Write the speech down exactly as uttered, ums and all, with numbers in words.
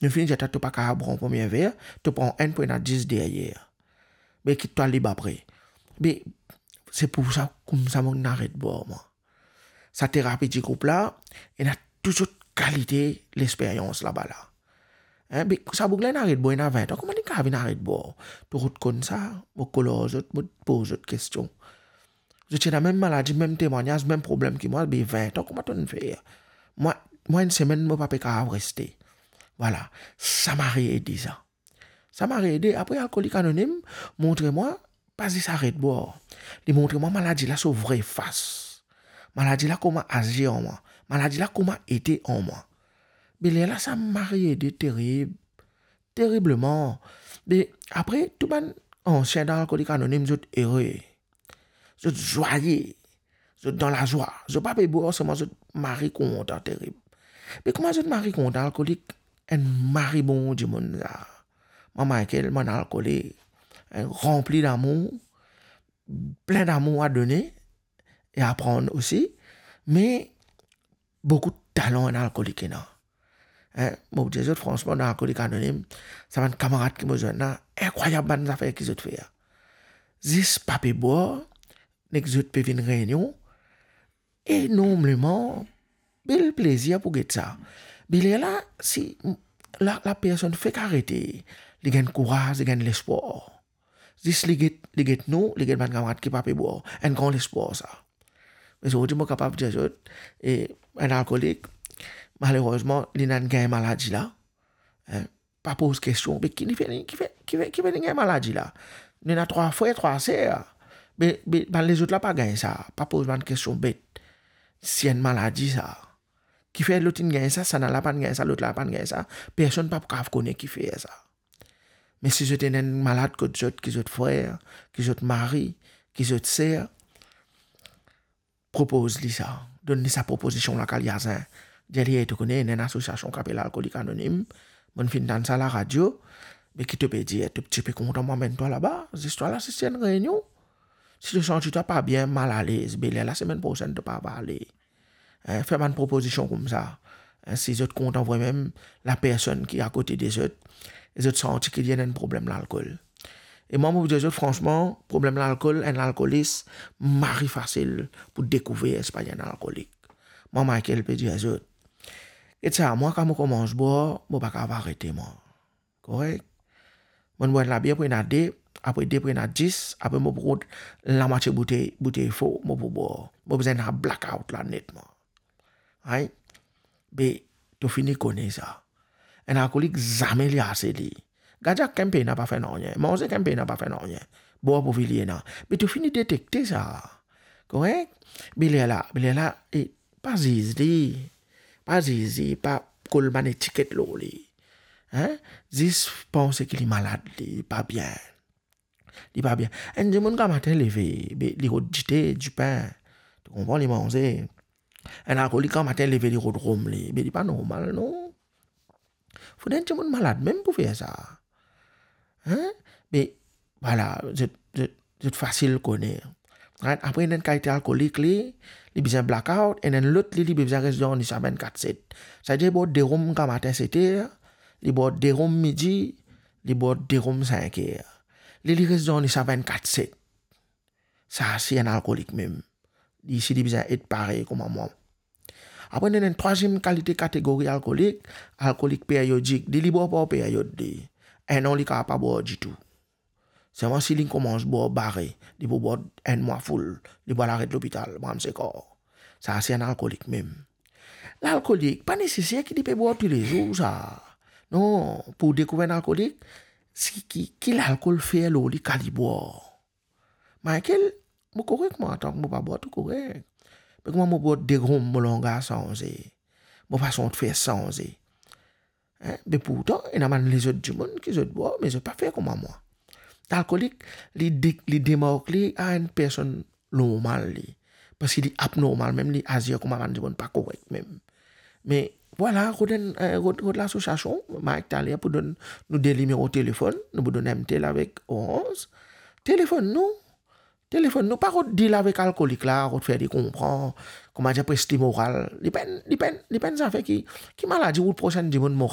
Nou finn dir twa to pa kapav pran premie ver, to pran enn pou ena dis deryer. Be kit twa lib apre. Be se pou sa, koumsa mo inn aret bwar mwa. Sa terapi di group la, ena tou sort kalite lesperyans laba la. Hein, be sa boug la inn aret bwar, ena vin an, kouma li kapav vinn aret bwar? To rod konn sa, mo kol ar zot, mo poz zot kestion. Zot ti ena mem maladi, mem temwagnaz, mem problem ki mwa, be vin an, kouma to'nn fer? Mwa, mwa enn semenn, mo pa pe kapav reste. Vwala, sa mari ede sa. Sa mari ede. Apre, Alkolik Anonim montre mwa, pa zis aret bwar. Li montre mwa maladi la so vre fas. Maladi la kouma azir an mwa. Maladi la kouma ete an mwa. Be lerla sa mari ede terib, teribleman. Be apre, tou bann ansien dan Alkolik Anonim, zot ere. Zot zwaye, zot dan lazwa, zot pa pe bwar, selman zot mari kontan terib. Me kouma zot mari kontan? Alkolik, enn mari bon dimoun sa. Mwa Michael, mwa enn alkolik, hein, ranpli damour, plin damour a done e a pran osi, me boukou talan enn alkolik ena. Hein, mo pou dir zot fransman, dan Alkolik Anonim, sa bann kamarad ki mo zwenn la, inkrwayab bann zafer ki zot fer. Zis pa pe bwar, nek zot pe vinn reynion, enormeman bel plezir pou get sa. Be lerla, si la, lapersonn fek arete, li gagn kouraz, li gagn lespwar. Zis li get, li get nou, li get bann kamarad ki pa pe bwar. Enn gran lespwar sa. Me zordi mo kapav dir zot, e, enn alkolik, malerezman, li ena gagn maladi la. Hein, pa poz kestion, be ki li fer, ki fer, ki fer, ki fer li gagn maladi la? Li ena trwa frer, trwa ser. Be, be bann lezot la pa gagn sa. Pa poz bann kestion bet. Si enn maladi sa. Kifer lot inn gagn sa, sa la pa'nn gagn sa, lot la pa'nn gagn sa? Personn pa pou kapav kone kifer sa. Me si zot ena enn malad kot zot, ki zot frer, ki zot mari, ki zot ser, propoz li sa. Donn li sa propozision la, kaliazin. Dir li, "Ey, to kone, ena enn asosiasion ki apel Alkolik Anonim. Mo'nn finn tann sa laradio. Me ki to pe dir? To ti pe kontan mo amenn twa laba? Zis twa la, se enn reynion. Si to santi twa pa bien, malalez, be lerla semenn prosenn to pa ale." Hein, fer bann propozision koumsa. Hein, si zot kontan vremem, lapersonn ki akote de zot, e zot santi ki li ena enn problem lalkol. E mwa, mo pou dir zot fransman, problem lalkol, enn alkolis, mari fasil pou dekouver si li enn alkolik. Mwa, Michael pe dir zot, get sa, mwa, kan mo koumans bwar, mo pa kapav arete, mwa. Korek? Mo'nn bwar enn labier pou ena de, apre de pou ena dis, apre mo pou rod lamwatie boutey, boutey for, mo pou bwar. Mo bizin ena blackout la netman. Ay? Be, to fini kone sa. Enn alkolik, zame li ase li. Gadyak kan pena pa fer nanye. Manze kan pena pa fer nanye. Bwar pou vili ena. Be to fini detekte sa. Korek? Be lerla, be lerla, e, pa ziz li. Pa ziz li, pa kol bann etiket lor li. Hein? Zis panse ki li malad, li pa bien. Li pa bien. Enn dimoun gramatin leve, be, li rod dite, dipin. To konpran, li manze. Enn alkolik gramatin leve, li rod rom li. Be, li pa normal, non. Fode enn dimoun malad mem pou fer sa. Hein? Me, vwala, zot, zot, zot fasil kone. Right? Apre, ena enn kalite alkolik, li, li bizin blackout, ena enn lot, li, li bizin res dormi sa vennkat set. Savedir, li bwar de rom gramatin set er, li bwar de rom midi, li bwar de rom sink er. Li, li res dormi sa vennkat set. Sa, se enn alkolik mem. Li, si li bizin et parey kouma mwa. Apre, ena enn trwaziem kalite kategori alkolik, alkolik peryodik. Li, li bwar par peryod, li. Enn an, li kapav pa bwar ditou. Selman si li koumans bwar bare, li pou bwar enn mwa full, li pou al aret lopital, bram sekor. Sa, se enn alkolik mem. Lalkolik, pa neseser ki li pe bwar toulezour, sa. Non, pou dekouver enn alkolik, se ki, ki lalkol fer lor li kan li bwar. Michael, mo korek mwa, antan ki mo pa bwar, to korek. Me kouma mo bwar de rom, mo langaz sanze. Mo fason de fer sanze. Hein? Me pourtan, ena bann lezot dimoun ki zot bwar, me zot pa fer kouma mwa. Lalkolik, li de-, li demark li a enn personn normal li. Parski li abnormal, mem li azir kouma bann dimoun pa korek mem. Me vwala, rod enn, eh, rod, rod lasosiasion, Mike taler pou donn nou de nimero telefonn, nou pou donn M T L avek Orange. Telefonn nou, telefonn nou, pa rod deal avek alkolik la, rod fer li konpran, koumadir pres li moral. Li pa enn, li pa enn, li pa enn zafer ki, ki maladi ou pres enn dimoun moral.